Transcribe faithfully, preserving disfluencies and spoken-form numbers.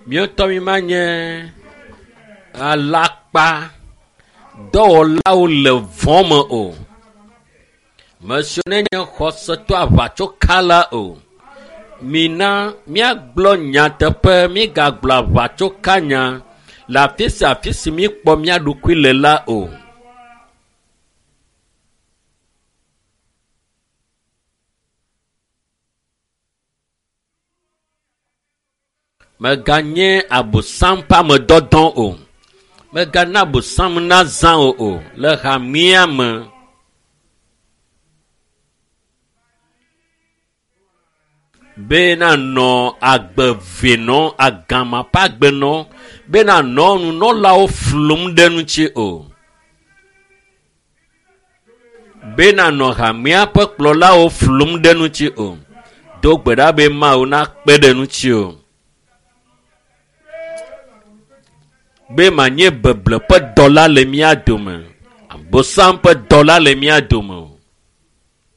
Míetɔ mi ma nye alakpa dɔwɔlawo le vɔ̃ me o. Mesiwo nenye xɔsetɔ aʋatsokala o. Mina míagblɔ nyateƒe, mígagblɔ aʋatsokanya le afi sia afi si míekpɔ mía ɖokui le la o. Mèganye Abosam ƒe amedɔdɔ o. Mègana Abosam nazã wò o le hamea me. Be nanɔ agbe ve nɔ, agama ƒe agbe nɔ, be nanɔ nunɔlawo flum ɖe ŋuti o. Be nanɔ hamea ƒe kplɔlawo flum ɖe ŋuti o. Do gbe ɖa be Mawu nakpe ɖe ŋuti o. Be manye beble ƒe dɔla le mía dome, Abosam ƒe dɔla le mía dome o.